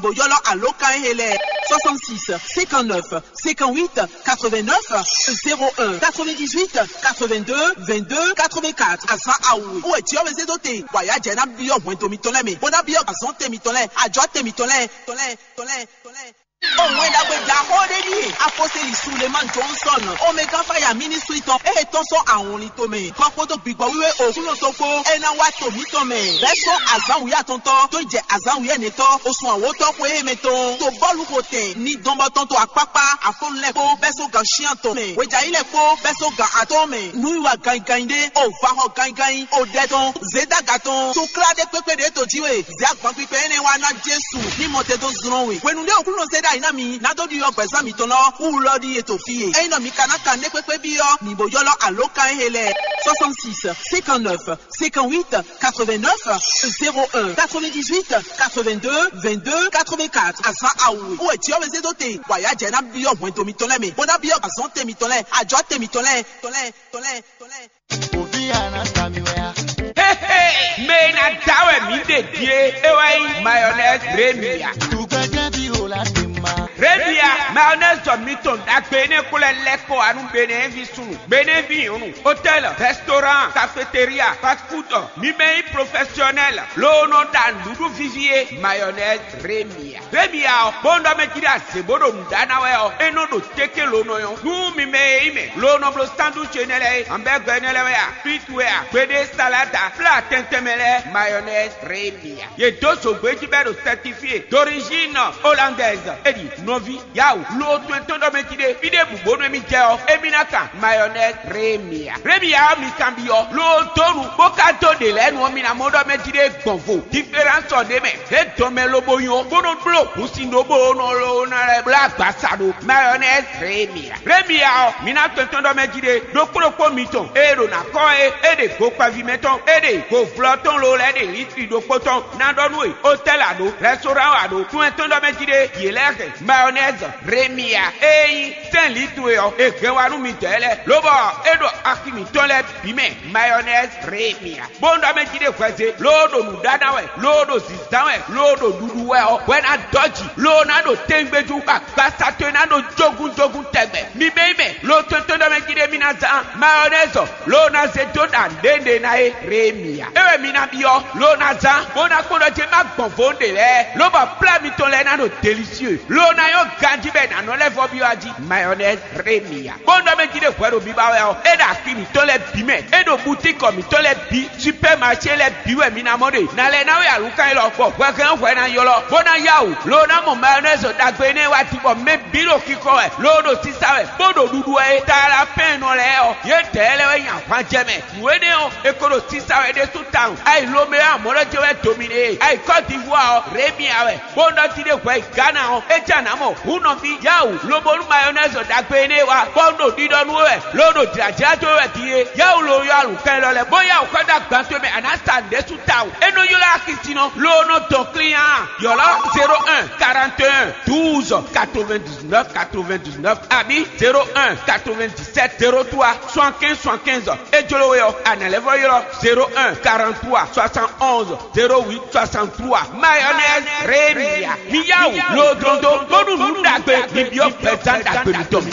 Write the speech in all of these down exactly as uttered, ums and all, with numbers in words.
Bó ylɔ́ alǒkan e lɛ́ɛ: soixante-six, cinquante-neuf, cinquante-huit, quatre-vingt-neuf, zéro un, quatre-vingt-dix-huit, quatre-vingt-deux, vingt-deux, quatre-vingt-quatre. Azǎn awu wɛ jǐ ɔ́ wezé dó te, bɔ ayǎ jɛ ná byɔ́ hwɛndo mitɔn lɛ́ɛ mɛ, bó ná byɔ́ azɔ̌ te mitɔn lɛ́ɛ, ajɔ̌ te mitɔn lɛ́ɛ, tɔn lɛ́ɛ, tɔn lɛ́ɛ, tɔn lɛ́ɛ. Ó wɛn ɖagbe ɖaxó ɖé ɖíe: Afɔseli Sulemani Johnson, Omega Fire Ministry tɔn, e tɔ́n sɔ́ awɔnlin tomɛ, kɔ kpódó gbigbɔ wíwé Oklúnɔ tɔn kpó, é ná wá to mǐtɔn mɛ. Bɛ́ sɔ́ azǎn wǔyá atɔntɔ́ tó jɛ azǎn wǔyá nɛtɔ́, osùn awǒtɔ́ xwe e mɛ tɔn, to bɔ́lu xo tɛn, ní dɔn bɔ tɔn to akpákpá, afɔ́nú lɛ́ɛ kpó, bɛ́ sɔ́ gan shyán tɔn mɛ, hwejǎyi lɛ́ɛ kpó, bɛ́ sɔ́ gan atɔ́ɔ́n mɛ, nú yi wa ganyiganyi ɖé, o va xɔ ganyiganyi, o ɖɛ tɔn, zědaga tɔn, to klá ɖé kpékpé ɖě to jí we, zě agbankpikpɛ énɛ́ wá ná Jesu ní mɔ te dó zlɔ́n we. Hwenu ɖé Oklúnɔ zé ɖ'ayǐ ná mi, ná dó ɖiɖɔ gbɛ̌zán mitɔn lɔ, wú lɔ ɖíe to fí e. Ényí nɔ mi ka ná kan nɛ́ kpékpé byɔ́, mi bo ylɔ́ alǒkan e lɛ́ɛ: soixante-six, cinquante-neuf, cinquante-huit, quatre-vingt-neuf, zéro un, quatre-vingt-dix-huit, quatre-vingt-deux, vingt-deux, quatre-vingt-quatre. Azǎn awu wɛ jǐ ɔ́ wezé dó te, bɔ ayǎ jɛ ná byɔ́ hwɛndo mitɔn lɛ́ɛ mɛ, bó ná byɔ́ azɔ̌ te mitɔn lɛ́ɛ, ajɔ̌ te mitɔn lɛ́ɛ, tɔn lɛ́ɛ, tɔn lɛ́ɛ, tɔn lɛ́ɛ. Ovi ana sa mi wɛ a? Hehe, mɛ e ná da wɛ mǐ ɖe din é, é wɛ nyí mayonnaise Remia. Tugbɛjɛ bi o la se ma. Remia, mayonnaise mitɔn ɖagbe énɛ́ ko lɛ́ lɛ́ kɔ wá nú Benɛ́ɛvi súnnu, Benɛ́vi nyɔ̌nu, hôtel, restaurant, cafétéria, fast food, mi mɛ nyí professionnel, loo nɔ ɖa nǔɖuɖu víví é, mayonnaise Remia. Remia ɔ́, bó un ɖɔ mɛ jí ɖo azě bó ɖo nǔ ɖa ná wɛ ɔ́, é nɔ ɖo téké lo nɔ nyɔ́. Nú mi mɛ e nyí mɛ, lo nɔ bló sandwich énɛ́ lɛ́ɛ é, hamburger énɛ́ lɛ́ɛ wɛ a, frite wɛ a, gbeɖé salada, flá tɛntɛn mɛ lɛ́ɛ, mayonnaise Remia. Yě dó zǒgbé jí bɔ é ɖo certifié d'origine hollandaise. É ɖi nɔví, yawu, lo to ɛtɔn ɖɔ mɛ jí ɖé, fí ɖěbǔ bónú émí jɛ ɔ́, émí ná kan mayonnaise Remia. Remia ɔ́ mi kanbyɔ́, lo dó nu, bó ka dó ɖě lɛ́ɛ nu ɔ́, mi ná mɔ ɖɔ mɛ jí ɖé gbɔn vo. Différence ɔ́ ɖ'é mɛ, é dɔn mɛ lobo nyɔ́, bó nɔ bló hǔnsin ɖó bó nɔ lo ná lɛ́ bló agbaza ɖó mayonnaise Remia. Remia ɔ́, mi ná tɔn tɔn ɖɔ mɛ jí ɖé, ɖokpó ɖokpó mitɔn e ɖo ná kɔ́ é, é ɖe gokpɛví mɛtɔn, é ɖe govlɔ tɔn lo lɛ́ɛ ɖe litri ɖokpó tɔn ná ɖɔ nú we, hôtel a ɖo, restaurant a ɖo, tún ɛ tɔn ɖɔ mɛ jí ɖé, yě lɛ́ɛ hɛn mayonnaise Remia e nyí sɛ́n litru e ɔ́, è hɛn wá nú midɛɛ lɛ́ɛ, lobɔ é ɖo axi mǐtɔn lɛ́ɛ bǐ mɛ mayonnaise Remia. Bó un ɖɔ mɛ jí ɖé hwɛzé, loo ɖo nǔɖaɖa wɛ, loo ɖo zǐzán wɛ, loo ɖo ɖuɖu wɛ ɔ́, hwɛ ná dɔ́ jǐ, loo ná ɖo tɛngbéjú, agbasa towe ná ɖo jógúnjógún tɛgbɛ. Mi bɛ́ mɛ, lo tɔn tɔn ɖɔ mɛ jí ɖé mi ná zán mayɔnɛ́zɔ, loo ná zé dó ɖa nǔɖé ná é ré mi ǎ. É wɛ mi ná byɔ́, loo ná zán, bó ná kpɔ́n ɖɔ jé má gbɔn vo ɖě lɛ́ɛ, lóbɔ plá mitɔn lɛ́ɛ ná ɖo delisieu, loo ná nyɔ́ ganjí bɔ è nǎ nɔ lɛ́ vɔ́ byɔ́ a jí. Mayɔnɛ́zi ré mi ǎ. Bó nɔ́ mɛ jí ɖe hwɛ ɖo biba wɛ ɔ́, é ɖo axi mǐtɔn lɛ́ɛ bǐ mɛ. É ɖo butíkɔ mǐtɔn lɛ́ɛ bǐ, supɛ́maṣé lɛ́ɛ bǐ wɛ mi ná mɔ ɖe. Nǎ lɛ́ ná wɛ alǔkan élɔ́, bɔ hwɛhɛn ɔ́ hwɛ ná ylɔ́, bó ná yá wǔ, loo ná mɔ mayɔnɛ́zi ɖagbe énɛ́ wá din, bɔ mɛ bǐ ɖo xixɔ wɛ, loo ɖo sisa wɛ, bó ɖo ɖuɖu wɛ é. Talafɛ́nnɔ lɛ́ɛ ɔ́, yědɛɛ lɛ́ɛ wɛ nyi ahwan jɛ mɛ. Nǔ énɛ́ ɔ́, è ko ɖo sisa wɛ ɖésú tawun. Ayi Lomea mɔ̌ lɛ́ jɛ wɛ do mì ɖe. Ayi Kɔ́divuwa ɔ́, Remia wɛ. Bó nɔ́ jí ɖe hwɛ yi Gana ɔ́, é jɛ nǎ mɔ hǔn nɔví yáwǔ, lobo nú mayɔnɛ́zi ɖagbe énɛ́ wá, bɔ un ɖo ɖiɖɔ nú we wɛ, loo ɖo jlǎjlá dó we wɛ din é. Yáwǔ lo yɔ alǔkɛn élɔ́ lɛ́ɛ, bó yáwǔ xɔ dó agban towe mɛ, a nǎ sa nǔɖé sú tawun. É nɔ ylɔ́ axi sin nɔ, loo nɔ dɔn klín á. Ylɔ́ zéro un, quarante et un, douze, quatre-vingt-dix-neuf, quatre-vingt-dix-neuf, abǐ zéro un, quatre-vingt-dix-sept, zéro trois, soixante-quinze, soixante-quinze. É jló we ɔ́, a nǎ lɛ́ vɔ́ ylɔ́ zéro un, quarante-trois, soixante-onze, zéro huit, soixante-trois. Mayonnaise Remia. Mi yá wǔ, lo dlɔ́n dó, bónú nǔ ɖagbe, mi byɔ́ gbɛzán ɖagbe mitɔn.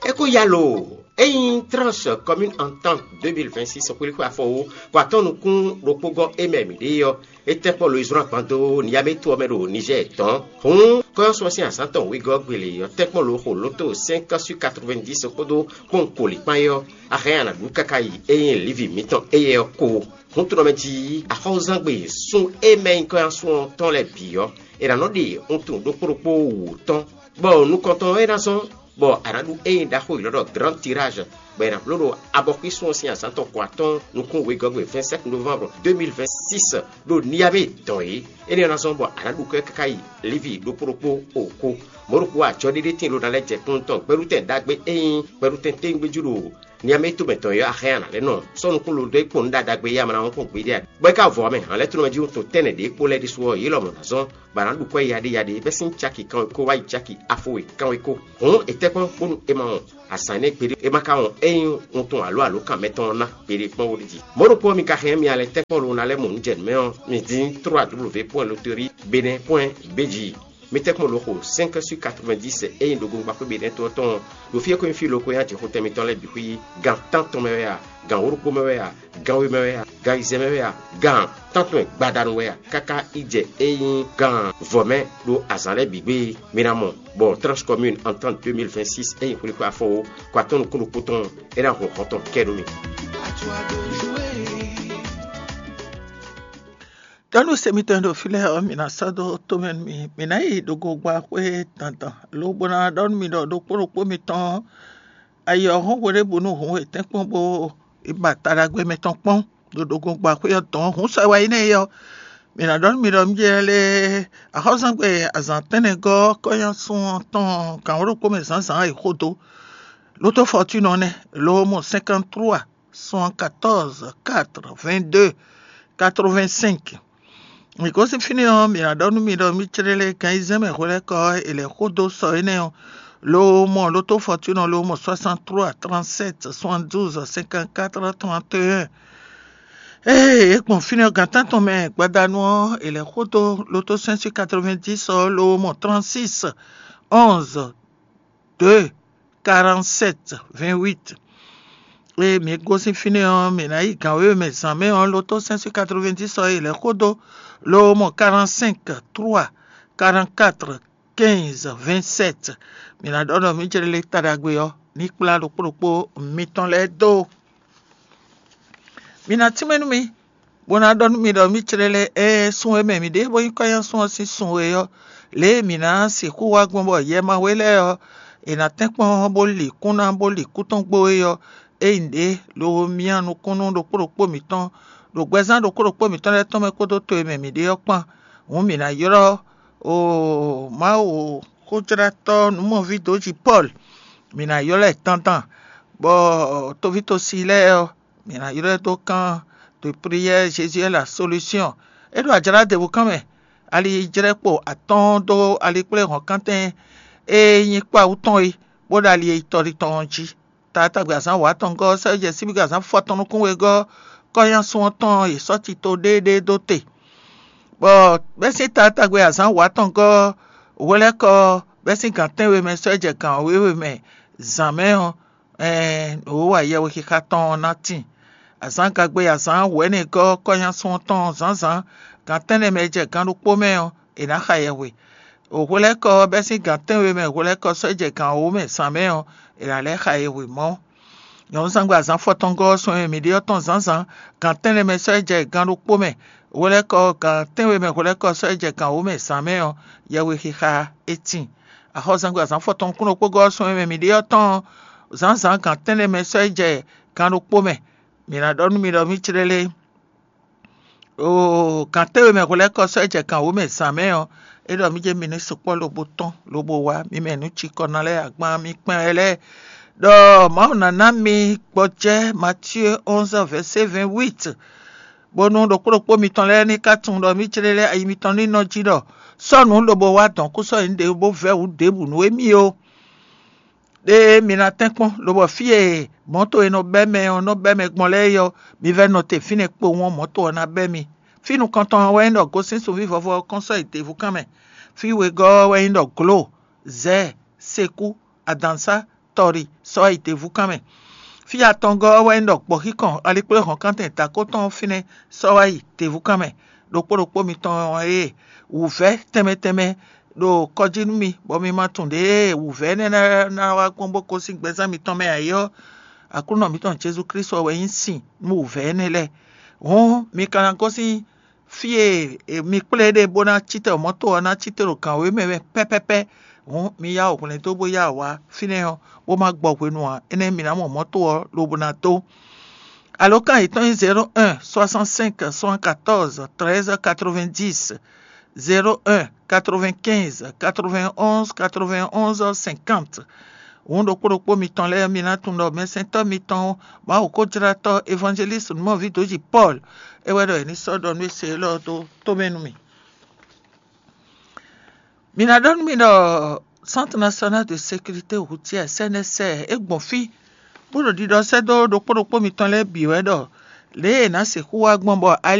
É kó yá lo, ényí Tranche Commune Entente deux mille vingt-six xwlíxwé afɔwó, kɔ atɔ́ nukún ɖokpó gɔ́ é mɛ mǐ ɖe ɔ́, é tɛ́ kpɔ́ lo yi zlɔ́n agban dó Niamey to ɔ́ mɛ ɖo Nizɛ́ɛ tɔn. Hǔn, kɔ́yɔ́sú ɔ́ sín azǎn tɔn wegɔ́ gbe lě ɔ́ tɛ́ kpɔ́n lo xo lǒto cinq sur quatre-vingt-dix kpódó kpɔ́nwun koli kpán é ɔ́, a hɛn a nǎ ɖu káká yi é nyí Livi mǐtɔn éyɛ́ ɔ́ kó. Hǔn tunɔ mɛ jí axɔ́zangbe sun e mɛ nyí kɔ́yɔ́sú ɔ́ tɔn lɛ́ɛ bǐ ɔ́, è nǎ nɔ ɖe wuntun ɖokpó ɖokpó wǔ tɔn, bɔ nukɔntɔn ɔ́ é ná zɔ́n, bɔ a nǎ ɖu ényí ɖaxó élɔ́ ɖɔ Grand Tirage, bɔ è nǎ bló ɖo abɔxwísun ɔ́ sín azǎn tɔn kɔ atɔ́ɔ́n nukún wegɔ́gbe vingt-sept novembre deux mille vingt-six ɖo Niamey dɔn é. Énɛ́ ɔ́ ná zɔ́n bɔ a nǎ ɖu kɔ́ ɛ káká yi Livi ɖokpó ɖokpó o kó. Mɔ̌ ɖokpó ajɔ ɖé ɖé tíin ɖó ná lɛ́ jɛ kpɔ́n tɔn gbɛɖutɛn ɖagbe e nyí gbɛɖutɛn téwúngbéjú ɖo Niamɛ to mɛ tɔn yɔ axɛ ana lɛ nɔ sɔ́ nukún lo dó é kpɔn nǔ ɖaɖagbe yá mana wọn kpɔn gbeɖé a? Bɔ é ka vɔ mɛ hàn lɛ́ tónɔmɛ jí wútu tɛnɛ ɖě kpó lɛ́ ɖésú ɔ́, yě lɔmɔ̌ ná zɔ́n, bɔ a nǎ ɖu kwɛ́ yaɖé yaɖé bɛ́ sín caki kanwekó wá yi caki afo e kanwekó. Hǔn è tɛ́ kpɔ́n bónú è ma wɔn azǎn énɛ́ gbeɖé, è ma ka wɔn é nyí wuntun alo alǒkan mɛtɔn ɔ́ ná gbeɖé kpɔ́n wóɖíji. Mɔ̌ ɖokpó ɔ́, mi ka hɛn mì alɛ tɛ́ kpɔ́n lo ná lɛ́ mɔ nǔ jɛ nǔ mɛ ɔ́, mi dín trois w point loterie bénin point b j. Mi tɛ́ kpɔ́n lo xo cinq sur quatre-vingt-dix e nyí ɖogbongba xwé Benɛ́ to ɔ́ tɔn ɔ́, ɖo fí e ko nyí fí lo ko nyí ajixotɛn mitɔn lɛ́ɛ bǐ xwí, gan tántɔn mɛ wɛ a, gan wǒ ɖokpó mɛ wɛ a, gan we mɛ wɛ a, gan ayizɛ́n mɛ wɛ a, gan tántɔn e gbadanu wɛ a, káká yi jɛ e nyí gan vɔ̌ mɛ ɖo azǎn lɛ́ɛ bǐ gbé. Mi ná mɔ bɔ Tranche Commune Entente deux mille vingt-six e nyí xwlíxwé afɔwó kɔ atɔ́ nukún ɖokpó tɔn é ná hun xɔ tɔn kɛ nú mi. Tɔ́ nú se mitɔn e ɖo fí lɛ́ɛ ɔ́, mǐ ná sɔ́ dó tomɛ nú mi. Mǐ ná yi ɖo gogba xwé dandan, lobo ná ɖɔ nú mi ɖɔ ɖokpó ɖokpó mitɔn ɔ́, ayi ɔ́ hɔn hweɖěbǔnu hǔn etɛ́nkpɔ́n bó yi ba taɖagbe mɛtɔn kpɔ́n ɖo ɖo gogba xwé ɔ́ dɔn hǔn sɔ e wá yi nɛ́ é ɔ́. Mǐ ná ɖɔ nú mi ɖɔ mí jɛ lé axɔ́súgbɛ azǎn tɛ́nnɛgɔ́ kɔ́nyásun ɔ́ tɔn gǎn ɖokpó mɛ zǎnzǎn e xo dó. Lotofɔtúnɔ nɛ́, lo mɔ cinquante-trois soixante-quatorze quatre vingt-deux quatre-vingt-cinq. Mǐ gosín fínɛ́ ɔ́, mǐ ná ɖɔ nú mi ɖɔ mí clélé gan ayizɛ́n mɛ hwelɛ́kɔ ɔ́, è lɛ̌ xó dó sɔ énɛ́ ɔ́, lo mɔ lotofɔtúnɔ lo mɔ soixante-trois trente-sept soixante-douze cinquante-quatre trente et un. Ée é gbɔn fínɛ́ ɔ́, gan tántɔn mɛ gbadanu ɔ́, è lɛ̌ xó dó loto cinq cent quatre-vingt-dix ɔ́, lo mɔ trente-six onze deux quarante-sept vingt-huit. Ée mǐ gosín fínɛ́ ɔ́, mǐ ná yi gǎn wěwe mɛ zǎn mɛ ɔ́, loto cinq cent quatre-vingt-dix ɔ́, è lɛ̌ xó dó lo mɔ quarante-cinq trois quarante-quatre quinze vingt-sept. Mǐ ná ɖɔ ɖɔ mǐ jlɛ́ lé ta ɖagbe ɔ́ ní kplá ɖokpó ɖokpó mitɔn lɛ́ɛ dó. Mi ná tínmɛ nú mì, bó ná ɖɔ nú mi ɖɔ mí clɛ́ lɛ́ ɛ sun e mɛ mǐ ɖe bó nyí kɔ́nyásun ɔ́ sín sun e ɔ́, lě e mǐ ná sixú wá gbɔn bɔ yɛ ma we lɛ́ɛ ɔ́, è nǎ tɛ́nkpɔ́n bó li kún ná bó li kú tɔn gbo é ɔ́, é nyí ɖě lo myá nukúnnú ɖokpó ɖokpó mǐtɔn, ɖo gbɛzán ɖokpó ɖokpó mǐtɔn lɛ́ɛ tɔn mɛ kpódó to e mɛ mǐ ɖe ɔ́ kpán. Hǔn mǐ ná ylɔ́ o Mawu xójlátɔ́ nǔmɔví dǒ jí Pɔ́lu, mǐ ná ylɔ́ ɛ dandan, bɔ toví tosi lɛ́ɛ ɔ́, mǐ ná ylɔ́ ɛ dó kán de priyɛ́ Jezu ɛ la solúsyɔn. É ɖo ajlá ɖěbǔ kán mɛ, ali jlɛ́ kpo atɔ́ɔ́n dó ali kplé hɔ̌nkántɛn e nyí kpawú tɔn é, bó ɖo ali e tɔ́ ɖi tɔn ɔ́ jí. Taatagbe azǎn wǎ tɔn gɔ́ sɛ́ jɛ síbígbe azǎn fɔtɔn nukún wegɔ́ kɔ́nyásun ɔ́ tɔn e sɔ́ tito ɖéeɖée dó te. Bɔ bɛ́ sín taatagbe azǎn wǎ tɔn gɔ́ hwelɛ́kɔ bɛ́ sín gǎn tɛ́nwe mɛ sɔ́ jɛ gǎn wěwe mɛ zǎn mɛ ɔ́, ɛɛn, nǔ e wa yɛhwexixa tɔn ɔ́ ná tíin. Azǎn gagbe azǎn wɛ̌nɛgɔ́ kɔ́nyásun ɔ́ tɔn zǎnzǎn gǎn tɛ́nnɛ mɛ e jɛ gǎn ɖokpó mɛ ɔ́, è nǎ xa yɛhwe. Hwelɛ́kɔ ɔ́ bɛ́ sín gǎn tɛ́nwe mɛ hwelɛ́kɔ sɔ́ jɛ gǎn wǒ mɛ zǎn mɛ ɔ́, è nǎ lɛ́ xa yɛhwe mɔ̌. Nyɔ̌nuzángbe azǎn fɔtɔngɔ́ ɔ́ sɔn e mǐ ɖe ɔ́ tɔn zǎnzǎn gǎn tɛ́nnɛ mɛ sɔ́ jɛ gǎn ɖokpó mɛ, hwelɛ́kɔ gǎn tɛ́nwe mɛ hwelɛ́kɔ sɔ́ jɛ gǎn wǒ mɛ zǎn mɛ ɔ́, yɛhwexixa é tíin. Axɔ́zangbe azǎn fɔtɔn nukún ɖokpó gɔ́ sɔn e mɛ mǐ ɖe ɔ́ tɔn zǎnzǎn gǎn tɛ́nnɛ mɛ sɔ́ jɛ gǎn ɖokpó mɛ. Mǐ ná ɖɔ nú mi ɖɔ mí clélé. Oo, gǎn tɛ́nwe mɛ hwelɛ́kɔ sɔ́ jɛ gǎn wǒ mɛ zǎn mɛ ɔ́, é ɖɔ mí jɛ mi ní sukpɔ́ lobo tɔ́n lobo wá mi mɛ nǔ cikɔ ná lɛ́ɛ agban mi kpɛn wɛ lɛ́ɛ, ɖɔ Mawu ná ná mi gbɔjɛ́ Matyée onze verset vingt-huit, bónú ɖokpó ɖokpó mitɔn lɛ́ɛ ní ka tunwun ɖɔ mí clélé ayi mitɔn ní nɔ jí ɖɔ sɔ́ nǔ lobo wá dɔ̌n kú sɔ́ nyǐ ɖě bó vɛ́ wǔ ɖěbǔ nú émí ó. Ɖé mi ná tɛ́nkpɔ́n, lobɔ fí e mɔ̌to e nɔ bɛ́ mɛ ɔ́ nɔ bɛ́ mɛ gbɔn lɛ́ɛ é ɔ́, mi vɛ́ nɔ te fínɛ́ kpowun ɔ́, mɔ̌to ɔ́ ná bɛ́ mi. Fí nukɔntɔn ɔ́ wɛ nyí ɖɔ gosín sunví vɔvɔ ɔ́ kɔn sɔ́ yi děvú kán mɛ. Fí wegɔ́ ɔ́ wɛ nyí ɖɔ glǒ, zɛ̌, sekú, adǎnsá, tɔɖi sɔ́ wá yi děvú kán mɛ. Fí atɔngɔ́ ɔ́ wɛ nyí ɖɔ gbɔ̌xíkɔn alikpléhɔ̌nkántɛn dǎkó tɔn ɔ́ fínɛ́ sɔ́ wá yi děvú kán mɛ. Ɖokpó ɖokpó mitɔn e wǔvɛ́ tɛnmɛ tɛnmɛ ɖo kɔ jí nú mi, bɔ mi ma tunwun ɖěe wǔvɛ́ énɛ́ ná wá gbɔn bó gosín gbɛzán mitɔn mɛ ǎ é ɔ́, Aklúnɔ mǐtɔn Jezu Klísu ɔ́ wɛ nyí sin nú wǔvɛ́ énɛ́ lɛ́ɛ. Hǔn mi ka ná gosín fí e mi kplé ɖe bó ná cí te ɖo mɔ̌to ɔ́ ná cí te ɖo gǎn wěwe mɛ pɛ́pɛ́pɛ́. Hǔn mi yá wǔ hwlɛ́n dó bó yá wǔ wá fínɛ́ ɔ́, bó má gbɔ hwenu ǎ. Énɛ́ mi ná mɔ mɔ̌to ɔ́ lobo ná dó. Alǒkan yětɔn nyí zéro un soixante-cinq soixante-quatorze treize quatre-vingt-dix, zéro un quatre-vingt-quinze quatre-vingt-onze quatre-vingt-onze cinquante. Hǔn ɖokpó ɖokpó mitɔn lɛ́ɛ, mi ná tunwun ɖɔ mɛsɛntɔ́ mitɔn Mawu kó jlá tɔ́ evangeliste Nǔmɔví Dǒji Pɔ́lu é wɛ ɖɔ è ní sɔ́ ɖɔ nú e se élɔ́ dó tomɛ nú mì. Mi ná ɖɔ nú mì ɖɔ Centre National de Sécurité Routière, C N S R, é gbɔn fí bó ɖo ɖiɖɔ sɛ́ dó ɖokpó ɖokpó mitɔn lɛ́ɛ bǐ wɛ ɖɔ lě e è nǎ sixú wá gbɔn bɔ ali